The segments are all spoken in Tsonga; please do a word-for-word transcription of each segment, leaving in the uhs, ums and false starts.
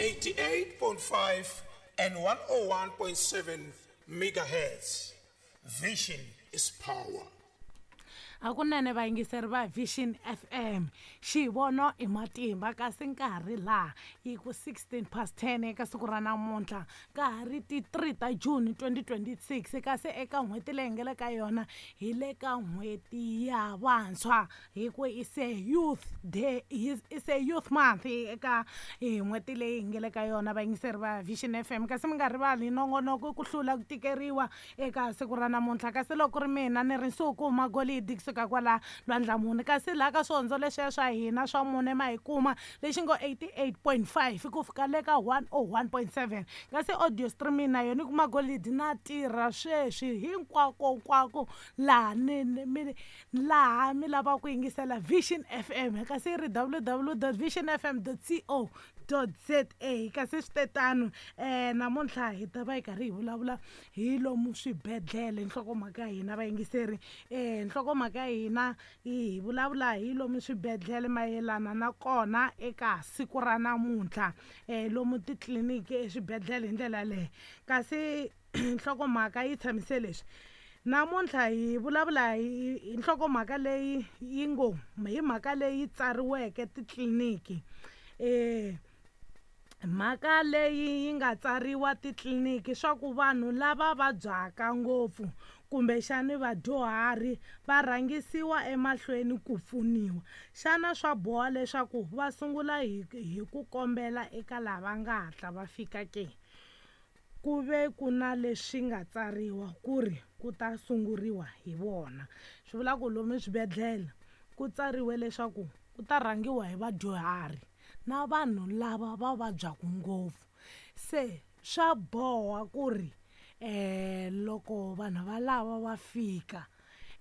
eighty-eight point five and one oh one point seven megahertz. Vision is power. Hakunene vayingiseri va Vision F M, xivono i matimba kasi nkarhi laha yi ku sixteen past ten eka siku ra namuntlha, ka ha ri ti three ta June twenty twenty-six, kasi eka n'hweti leyi hi nga le ka yona hi le ka n'hweti ya vantshwa, hi ku i se Youth Day, i se Youth Month eka n'hweti leyi hi nga le ka yona vayingiseri va Vision F M. Kasi mi nga rivali nongonoko ku hlula ku tikeriwa eka siku ra namuntlha, kasi loko ku ri mina ni ri Nsuku Magolidi kusuka kwala Lwandlamuni, kasi laha ka swihondzo leswiya swa hina swa mune ma hi kuma lexi ngo eighty-eight point five ku fika le ka one oh one point seven, kasi audio streaming na yona ku Magolidi na tirha sweswi hinkwako nkwako laha ni, ni, mi, laha mi lavaka ku yingisela Vision F M, kasi yi ri w w dot vision f m dot co dot z a. Kasi swi te tano, eh, namuntlha hi ta va hi karhi hi vulavula hi lomu swibedhlele, nhlokomhaka ya hina vayingiseri, eh, nhlokomhaka ya hina hi vulavula hi lomu swibedhlele mayelana na kona eka siku ra namuntlha, eh, lomu titliliniki eswibedhlele hi ndlela yaleyo. Kasi nhlokomhaka yi tshamise leswi, namuntlha hi vulavula hi, hi nhlokomhaka leyi yi ngo hi mhaka leyi tsariweke titliliniki, eh, mhaka leyi yi nga tsariwa titliliniki swa ku vanhu lava vabyaka ngopfu kumbexani vadyuhari va rhangisiwa emahlweni ku pfuniwa. Xana swa boha leswaku va sungula hi, hi ku kombela eka lava nga hatla va fika ke? Ku ve ku na leswi nga tsariwa ku ri ku ta sunguriwa hi vona. Swi vula ku lomu swibedhlele ku tsariwe leswaku ku ta rhangiwa hi vadyuhari na vanhu lava va vabyaka ngopfu. Se swa boha ku ri, eh, loko vanhu va lava va fika,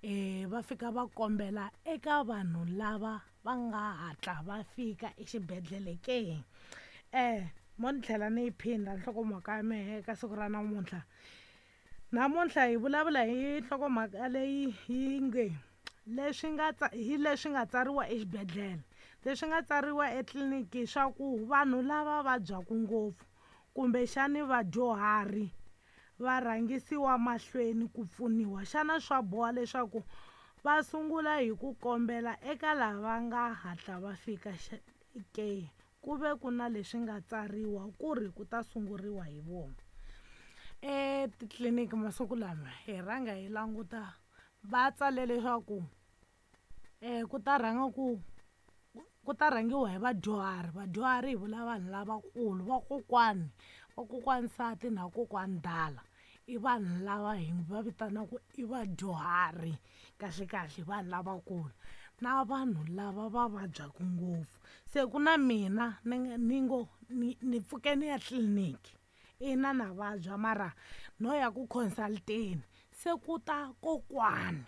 eh, va fika va kombela eka vanhu lava va nga hatla va fika exibedhlele ke? Eh, mo ni tlhela ni yi phinda nhlokomhaka ya mehe eka siku ra namuntlha. Namuntlha hi vulavula hi nhlokomhaka leyi yi nge leswi nga tsa-, hi leswi nga tsariwa exibedhlele, leswi nga tsariwa etliliniki swa ku vanhu lava vabyaka ngopfu kumbexani vadyuhari va rhangisiwa mahlweni ku pfuniwa. Xana swa boha leswaku va sungula hi ku kombela eka lava nga hatla va fika xa-, ke? Ku ve ku na leswi nga tsariwa ku ri ku ta sunguriwa hi vona. Etitliliniki masiku lama hi rhanga hi languta va tsale leswaku, eh, ku ta rhanga ku, ku ta rhangiwa hi vadyuhari. Vadyuhari hi vula vanhu lavakulu, vakokwani, vakokwani nsati na kokwani dala. I vanhu lava hi va vitanaka i vadyuhari, kahle kahle vanhu lavakulu na vanhu lava va vabyaka ngopfu. Se ku na mina ni nga, ni ngo ni, ni pfuke ni ya tliliniki, ina na vabya mara no ya ku consulteni, se ku ta kokwani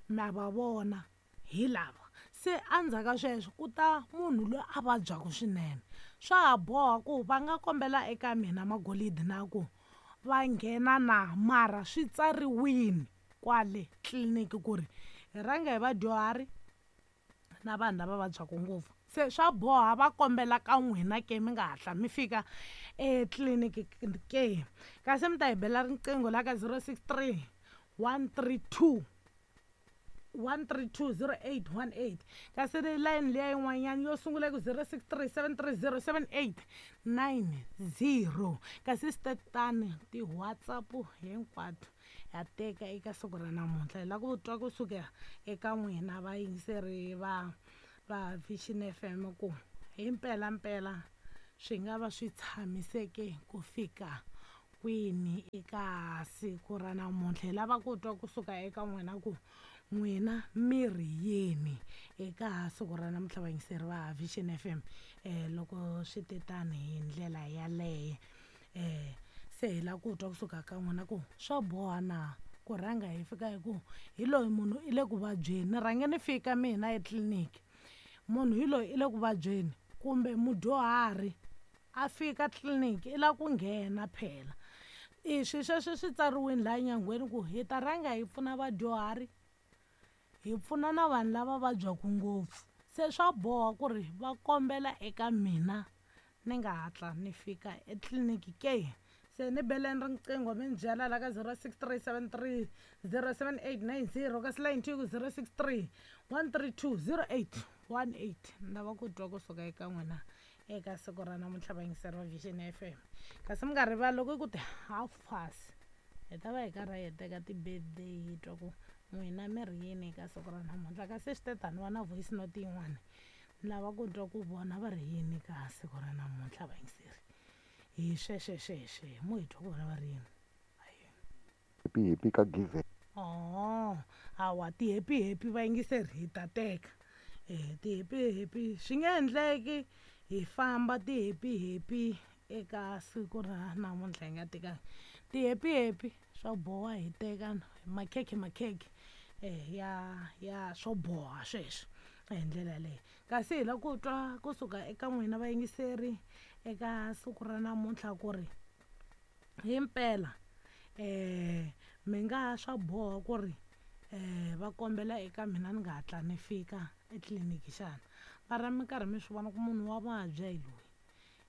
na va vona hi lava. Se endzhaku ka sweswo ku ta munhu loyi a vabyaka swinene. Swa ha boha ku va nga kombela eka mina Magolidi na ku va nghena na, mara swi tsariwini kwale tliliniki ku ri hi rhanga hi vadyuhari na vanhu lava vabyaka ngopfu. Se swa boha va kombela ka n'wina ke mi nga hatla mi fika etliliniki ke? Kasi mi ta hi bela riqingho la ka zero six three one three two one three two zero eight one eight. Kasi ri line liya yin'wanyana yo sungula ku zero six three seven three zero seven eight nine zero. Kasi swi tatani ti-WhatsApp hinkwato ya teka eka siku ra namuntlha. Hi lava ku twa kusuka eka n'wina vayingiseri va, va Vision F M ku hi mpelampela swi nga va swi tshamiseke ku fika kwini eka siku ra namuntlha. Hi lava ku twa kusuka eka n'wina ku n'wina mi ri yini eka siku ra namuntlha vayingiseri va Vision F M, eh, loko swi te tani hi ndlela yaleyo. Eh, se hi lava ku twa kusuka ka n'wina ku swa boha na ku rhanga hi fika hi ku hi loyi munhu i le ku vabyeni, ni rhange ni fika mina etliliniki, munhu hi loyi i le ku vabyeni kumbe mudyuhari a fika tliliniki i lava ku nghena phela. I swi sweswo swi tsariwile laha nyangweni ku hi ta rhanga hi pfuna vadyuhari, hi pfuna na vanhu lava vabyaka ngopfu. Se swa boha ku ri va kombela eka mina ni nga hatla ni fika etliliniki ke. Se ni beleni riqingho mi ni byela la ka zero six three seven three zero seven eight nine zero kasi line two ku zero six three one three two zero eight one eight. Ni lava ku twa kusuka eka n'wina eka siku ra namuntlha vayingiseri va Vision F M. Kasi mi nga rivali loko ku ti half past hi ta va hi karhi hi teka ti-birthday hi twa ku n'wina mi ri yini eka siku ra namuntlha. Kasi swi te tani va na voice note yin'wana ni lava ku twa ku vona va ri yini ka siku ra namuntlha vayingiseri. Hi sweswe sweswe mo hi twa ku vona va ri yini. Happy happy ka give. Oh, hawa ti happy happy vayingiseri hi ta teka. Eh ti happy happy swi nge endleki hi famba ti happy happy eka siku ra namuntlha hi nga tekanga ti happy happy swo boha hi teka makhekhe makhekhe eh ya ya swo boha sweswo hi ndlela leyi. Kasi hi lava ku twa kusuka eka n'wina vayingiseri eka siku ra namuntlha ku ri himpela eh mi nga swa boha ku ri eh va kombela eka mina ni nga hatla ni fika etliliniki xana. Mara mi karhi mi swi vona ku munhu wa vabya hi loyi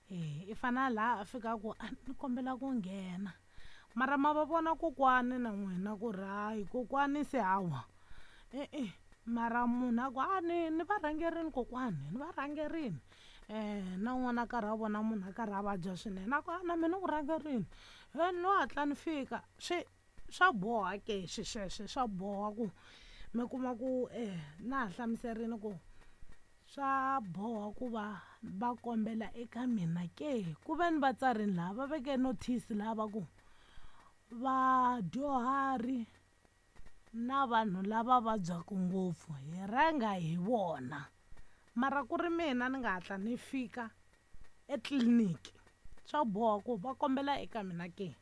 eh i fana laha a fika ku a ni kombela ku nghena, mara ma va vona kokwani na n'wina ku ri hayi kokwani se hawa e-e, mara munhu a ku a ni ni va rhangerini kokwani ni va rhangerini eh na n'wana a karhi a vona munhu a karhi a vabya swinene a ku a na mina ku rhangerini he no hatla ni fika. Swi swa boha ke swi sweswe swa boha ku mi kuma ku eh na ha hlamuserini ku swa boha ku va va kombela eka mina ke. Ku ve ni vatsarini laha va veke notice laha va ku vadyuhari na vanhu lava vabyaka ngopfu hi rhanga hi vona, mara ku ri mina ni nga hatla ni fika etliliniki swa boha ku va kombela eka mina ke.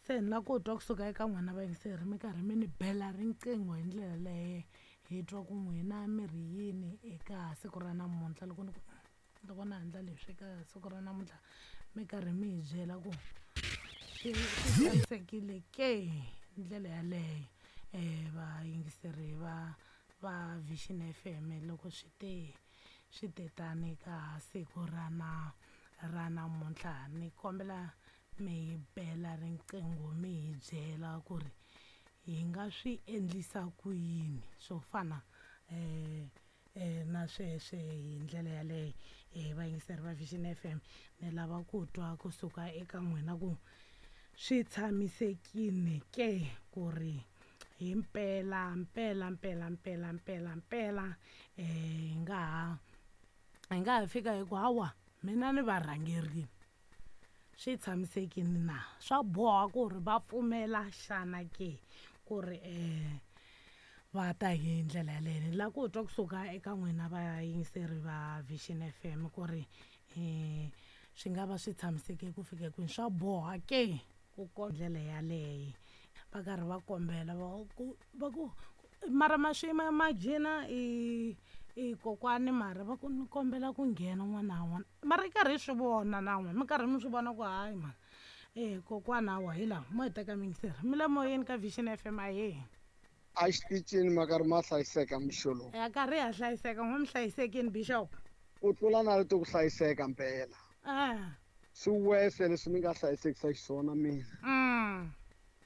Se ni lava ku twa kusuka eka n'wina vayingiseri mi karhi mi ni bela riqingho hi ndlela leyo hi twa ku n'wina mi ri yini eka siku ra namuntlha. Loko ni ku loko na endla leswi eka siku ra namuntlha mi karhi mi hi byela ku swi tshamisekile ke hi ndlela yaleyo eh vayingiseri va va Vision F M loko swi te swi te tani ka siku ra na ra namuntlha. Ni kombela mi hi bela riqingho mi hi byela ku ri hi nga swi endlisa ku yini swo fana eh eh na sweswe hi ndlela yaleyo. Eh vayingiseri va Vision F M ni lava ku twa kusuka eka n'wina ku swi tshamisekile ke ku ri hi mpela mpela mpela mpela mpela mpela eh hi nga ha hi nga ha fika hi ku hawa mina ni varhangerini swi tshamisekile na swa boha ku ri va pfumela xana ke ku ri eh va ta hi ndlela yaleyo. Ni lava ku twa kusuka eka n'wina vayingiseri va Vision F M ku ri eh swi nga va swi tshamiseke ku fika kwini, swa boha ke ku ko ndlela yaleyo va karhi va kombela va ku va ku mara ma swi imagine i i kokwani mara va ku ni kombela ku nghena n'wana wa n'wana mara i karhi hi swi vona na n'wina mi karhi mi swi vona ku hayi mara eh kokwana wa hi laha mo hi teka miyingiseri mi le moyeni ka Vision F M ahee. A xitichini ma karhi ma hlayiseka mixo lowu. Ya karhi ya hlayiseka n'we mi hlayisekini Bishop. Ku tlula na leti ku hlayiseka mpela. Eh. Swi wese leswi mi nga hlayisekisa xiswona mina. Mm.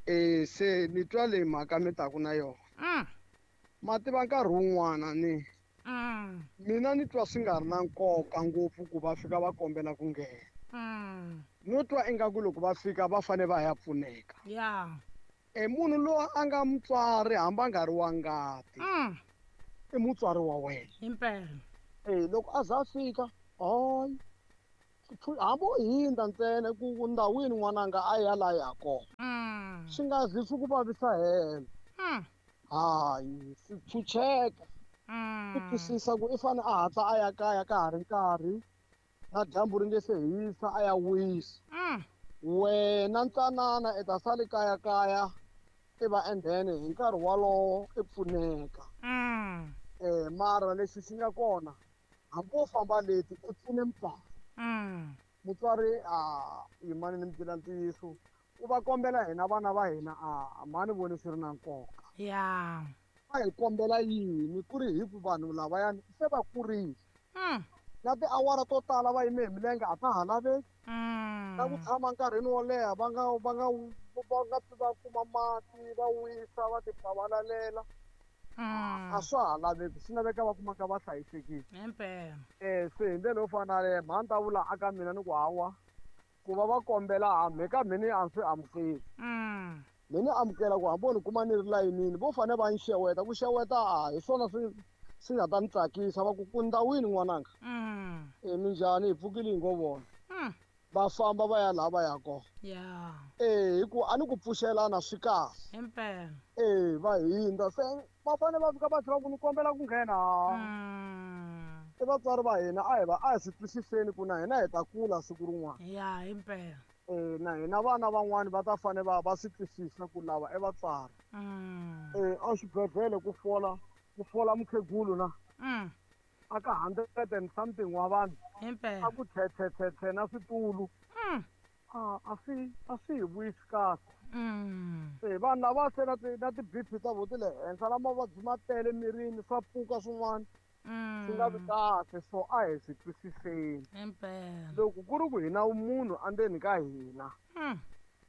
Eh se ni twa leyi mhaka mi taku na yona. Mm. Ma tiva nkarhi wun'wana ni Mm. mina ni twa swi nga ri na nkoka ngopfu ku va fika va kombela ku nghena. Mm. No twa ingaku loko va fika va fane va ya pfuneka. Yeah. E munhu loyi a nga mutswari hambi a nga ri wa ngati. Mm. I mutswari wa wena. Himpela. Eh loko a za fika hayi hambi u hindza ntsena ku ndhawini n'wananga a ya laha ya kona. Mm. Swi nga zi swi ku vavisa helo. Mm. Hayi swi pfucheka. Mm. Ku twisisa ku i fane a hatla a ya kaya ka ha ri nkarhi na dyambu ri nge se hisa a ya wisa. Mm. Wena ntsanana i ta sali kaya kaya i va and then hi nkarhi walowo i pfuneka. Mm. Eh mara lexi xi nga kona hambi wo famba leti i pfune mutswari. Mm. Mutswari a yimani ni mi byela ntiyiso u va kombela hina vana va hina a mani voni swi ri na nkoka. Yeah. Va hi kombela yini ku ri hi ku vanhu lavayani se va kurile. Mm. Na tiawara to tala va yime hi milenge a ta ha laveki. Na ku tshama nkarhini wo leha va nga va nga va nga pfi va kuma mati va wisa va ti pavalalela. A swa ha laveki, swi laveka va kumaka va hlayisekile. Himpela. Eh se hi ndlela yo fana na yaleyo mhani ta vula aka mina ni ku hawa ku va va kombela hambi ka mina a swi amukeli. Mina ni amukela ku hambi ni kuma ni ri layinini vo fane va ni xeweta, ku xeweta a hi swona swi swi nga ta ni tsakisa va ku ku ndawini n'wananga. E minjhani hi pfukile hi ngo vona. Va famba va ya laha va ya kona. Yeah. Eh hi ku a ni ku pfuxelana swi kahle. Himpela. Eh va hindza se va fane va fika va tlhela ku ni kombela ku nghena. I vatswari va hina a hi va a hi swi twisiseni ku na hina hi ta kula siku rin'wana. Yeah, himpela. Eh na hina vana van'wani va ta fane va va swi twisisa ku lava i vatswari. Eh a xibedhlele ku fola ku fola mukhegulu na. Aka hundred and something wa vanhu. Himpela. A ku thethethethe na switulu. A a swi a swi hi vuyisi kahle. Se vanhu lava se na ti na ti-B P ta vo ti le henhla na mavabyi ma tele mirini swa pfuka swin'wana. Swi nga vi kahle, so a hi swi twisiseni. Himpela. Loko ku ri ku hi na munhu endzeni ka hina,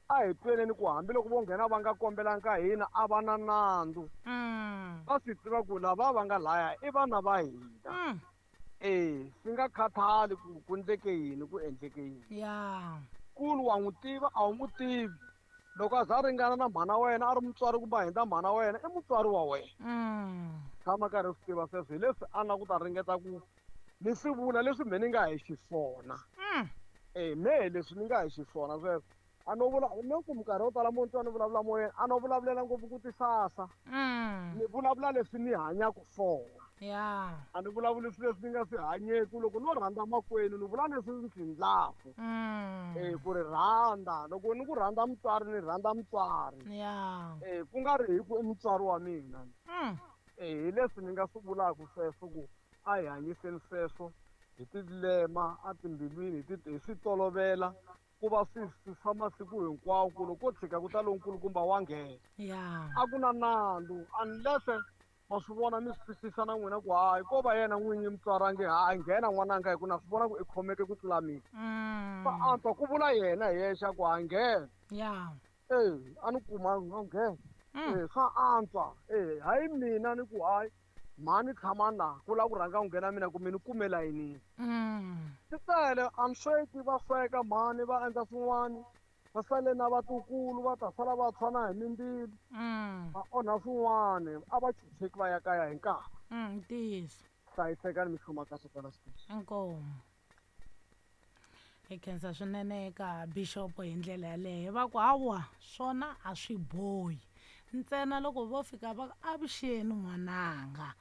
a hi tweneni ku hambiloko vo nghena va nga kombelanga ka hina a va na nandzu. Va swi tiva ku lava va nga laya i vana va hina. Eh swi nga khathali ku ku endleke yini ku endleke yini. Yeah. Kulu wa n'wi tiva a wu n'wi tivi. Loko a za ringana na mhana wena a ri mutswari kumbe a hindza mhana wena i mutswari wa wena. Tshama karhi swi tiva sweswo hi leswi a na ku ta ringeta ku ni swi vula leswi me ni nga hi xiswona. Eh me leswi ni nga hi xiswona sweswo. A no vula ni ku minkarhi yo tala mo ni twa ni vulavula moyeni a no vulavulela ngopfu ku tisasa. Ni vulavula leswi ni hanyaka swona. Yeah. A ni vulavuli swilo leswi ni nga swi hanyeki loko no rhandza makwenu ni vula leswi ni swi endlaku. Eh ku ri rhandza loko ni ku rhandza mutswari ni rhandza mutswari. Yeah. Eh ku nga ri hi ku i mutswari wa mina. Eh hi leswi ni nga swi vulaka sweswo ku a hi hanyiseni sweswo hi tilema a timbilwini hi ti hi swi tolovela ku va swi swa masiku hinkwawo ku loko ko tshika ku ta lonkulukumba wa nghena. Yeah. A ku na nandzu unless ma swi vona mi swi twisisa na n'wina ku hayi ko va yena n'winyi mutswari a nge hayi nghena n'wananga hi ku na swi vona ku i khomeke ku tlula mina. Swa antswa ku vula yena hi yexe ku ha nghena. Yeah. Eh a ni kuma a nghena. Eh swa antswa eh hayi mina ni ku hayi mhani tshama laha ku lava ku rhanga ku nghena mina ku mi ni kume layinini. Swi tele a ni sweki va sweka mhani va endla swin'wana va sale na vatukulu va ta sala va tshwana hi mindzilo. Va onha swin'wana a va chucheki va ya kaya hi nkarhi. Ntiyiso. Hlayisekani mi hluma kahle kwala xitichi. Inkomu. Hi khensa swinene eka Bishop hi ndlela yaleyo va ku hawa swona a swi bohi. Ntsena loko vo fika va ku avuxeni n'wananga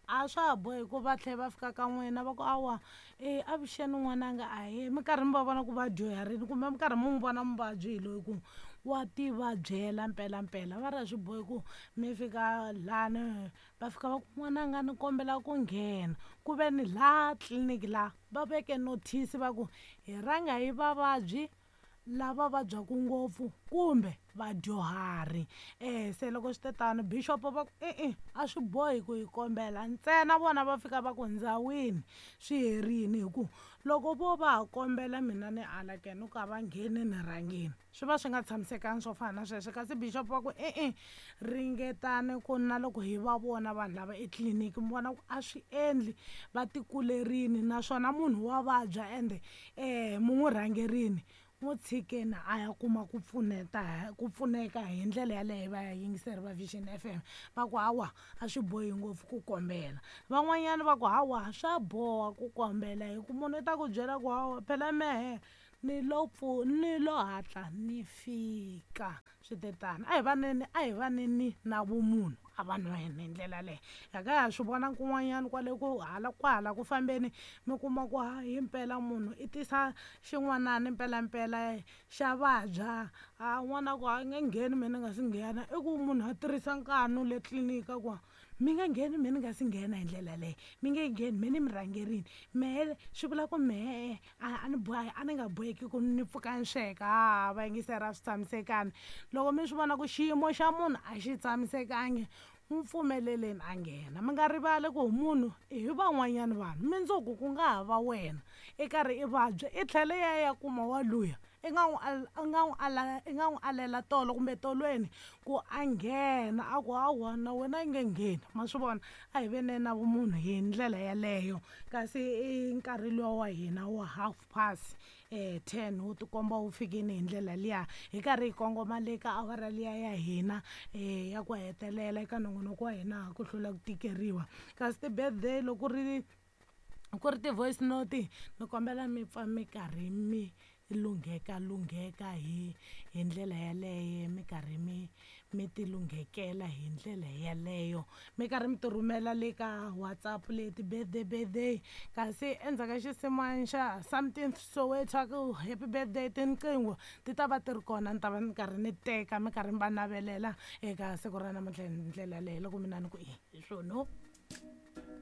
a swa ha bohi ku va tlhela va fika ka n'wina va ku awa e avuxeni n'wananga a hi minkarhi mi va vona ku va dyuharini kumbe minkarhi mi n'wi vona muvabyi hi loyi ku wa ti vabyela mpelampela va ri a swi bohi ku mi fika lani va fika va ku n'wananga ni kombela ku nghena ku ve ni laha tliliniki laha va veke notice va ku hi rhanga hi vavabyi lava vabyaka ngopfu kumbe vadyuhari. Eh se loko swi te tano Bishop va ku e-e a swi bohi ku hi kombela ntsena vona va fika va ku ndzawini swi herini hi ku loko vo va ha kombela mina ni ala ke ni ku a va ngheni ni rhangeni swi va swi nga tshamisekanga swo fana na sweswo kasi Bishop va ku e-e ringetani ku na loko hi va vona vanhu lava etliliniki mi vona ku a swi endli va tikulerini naswona munhu wa vabya ende eh mi n'wi rhangerini n'wi tshikeni a ya kuma ku pfuneta ku pfuneka hi ndlela yaleyo va yingiseri va Vision F M va ku hawa a swi bohi ngopfu ku kombela van'wanyana va ku hawa swa boha ku kombela hi ku munhu i ta ku byela ku hawa phela mehe ni lo pfu ni lo hatla ni fika swi te tano a hi vaneni a hi vaneni na vumunhu a vanhu va hina hi ndlela yaleyo hi ka ha swi vona kun'wanyana kwale ku hala kwahala ku fambeni mi kuma ku hi mpela munhu i tisa xin'wanani mpelampela xa vabya a n'wana ku a nge ngheni me ni nga si nghena i ku munhu a tirhisa nkanu le tliliniki a ku mi nga ngheni me ni nga si nghena hi ndlela leyo mi nge ngheni me ni mi rhangerini mehe swi vula ku mehe a ni boha a ni nga boheki ku ni pfuka ni sweka ha va yingiseri a swi tshamisekanga loko mi swi vona ku xiyimo xa munhu a xi tshamisekangi N'wi pfumeleleni a nghena. Mi nga rivali ku munhu i hi van'wanyana vanhu, mundzuku ku nga ha va wena i karhi i vabya i tlhela i ya ya kuma wa luya i nga n'wi i nga n'wi ala i nga n'wi alela tolo kumbe tolweni ku a nghena, a ku hawa na wena yi nge ngheni. Ma swi vona, a hi veni na vumunhu hi ndlela yeleyo. Kasi i nkarhi luwa wa hina wa half past um ten wu tikomba wu fikini hi ndlela liya, hi karhi hi kongoma le ka awara liya ya hina um ya ku hetelela eka nongonoko wa hina ku hlula ku tikeriwa. Kasi ti-birthday loko ri ku ri ti-voice note, ni kombela mi pfa mi karhi mi lungheka lungheka hi hi ndlela yaleyo, mi karhi mi mi ti lunghekela hi ndlela yaleyo, mi karhi mi ti rhumela le ka WhatsApp le ti-birthday birthday. Kasi endzhaku ka xinsin'wana xa Something Soweto ku happy birthday, tinqingho ti ta va ti ri kona, ni ta va ni karhi ni teka mi karhi mi va navelela eka siku ra namuntlha hi ndlela yaleyo. Loko mina ni ku i hi swona.